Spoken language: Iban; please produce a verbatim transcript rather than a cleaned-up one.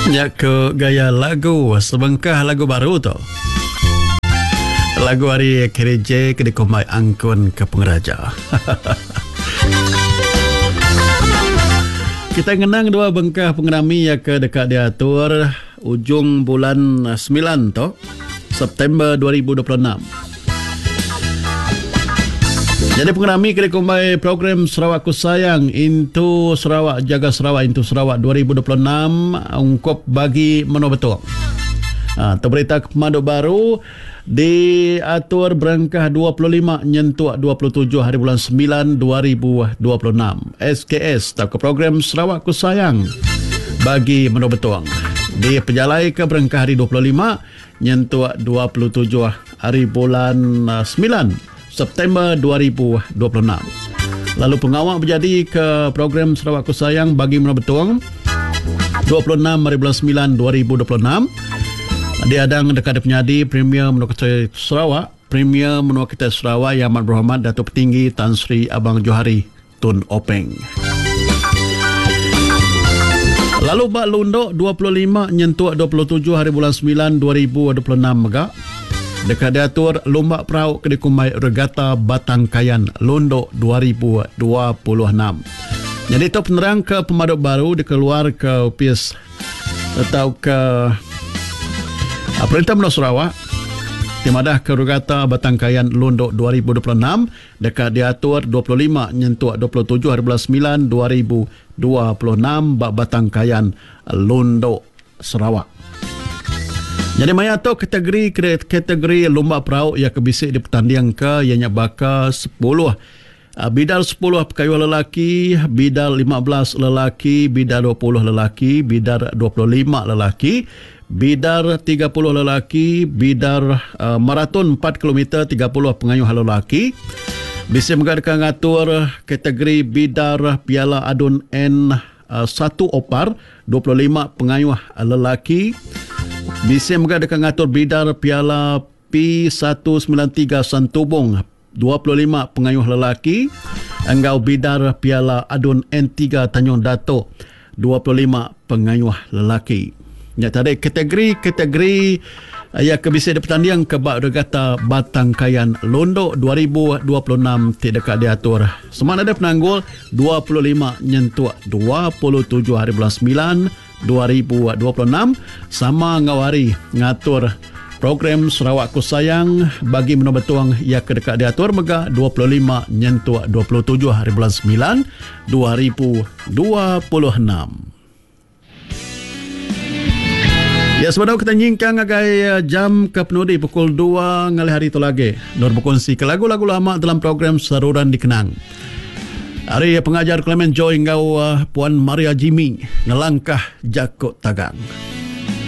Nya ke gaya lagu sebengkah lagu baru tu. Lagu ari K D J ke dikumbai Angkun ke Pengeraja. Kita ngenang dua bengkah pengerami yang ke dekat diatur ujung bulan sembilan tu, September dua ribu dua puluh enam. Jadi pengerami ke dikumbai program Sarawak Ku Sayang Into Sarawak Jaga Sarawak Into Sarawak dua ribu dua puluh enam ungkup bagi Menua Betong. Ha, tu berita pemadu baru diatur berengkah dua puluh lima nyentuk dua puluh tujuh hari bulan sembilan dua ribu dua puluh enam. S K S atau program Sarawak Ku Sayang bagi Menua Betong. Di pejalai ke berengkah hari dua puluh lima nyentuk dua puluh tujuh hari bulan sembilan September dua ribu dua puluh enam. Lalu pengawal berjadi ke program Sarawak Ku Sayang bagi Menua Betong dua puluh enam hari bulan sembilan dua ribu dua puluh enam. Diadang dekat penyadi Premier Menua Kita Sarawak, Premier Menua Kita Sarawak Yang Amat Berhormat Datuk Petinggi Tan Sri Abang Johari Tun Openg. Lalu bak Lundok dua puluh lima nyentuk dua puluh tujuh hari bulan sembilan dua ribu dua puluh enam mega dekat diatur Lumba Perahu ke dikumbai Regata Batang Kayan Lundok dua ribu dua puluh enam. Jadi itu penerang ke pemaduk baru dikeluar ke Upis atau ke Perintah Menua Sarawak di madah ke Regata Batang Kayan Lundok dua ribu dua puluh enam dekat diatur dua puluh lima nyentuk dua puluh tujuh hari bulan sembilan dua ribu dua puluh enam bak Batang Kayan Lundok Sarawak. Jadi maya tu kategori kategori lumba perahu yang kebisik di pertandingan ke ianya baka sepuluh bidal sepuluh pekayuh lelaki, bidal lima belas lelaki, bidal dua puluh lelaki, bidal dua puluh lima lelaki, bidar tiga puluh lelaki, bidar uh, maraton empat kilometer tiga puluh pengayuh lelaki. Bisa mengadakan ngatur kategori bidar Piala Adun N satu Opar dua puluh lima pengayuh lelaki. Bisa mengadakan ngatur bidar Piala P satu sembilan tiga Santubong dua puluh lima pengayuh lelaki. Enggau bidar Piala Adun N tiga Tanjung Datuk dua puluh lima pengayuh lelaki. Ya tadi kategori-kategori ya ke bisa dipertanding ke bak Regata Batang Kayan Londok dua ribu dua puluh enam tidak diatur. Semana ada penanggul dua puluh lima nyentuk dua puluh tujuh hari bulan sembilan dua ribu dua puluh enam sama ngau hari ngatur program Sarawak Ku Sayang bagi Menua Betong ya ke dekat diatur mega dua puluh lima nyentuk dua puluh tujuh hari bulan sembilan dua ribu dua puluh enam. Ya, sebab kita nyingkang agai jam ke penudi pukul dua ngalih hari itu lagi. Nur berkongsi ke lagu-lagu lama dalam program Saruran Dikenang. Hari pengajar Clement Joy ngau Puan Maria Jimmy ngelangkah Jakut Tagang.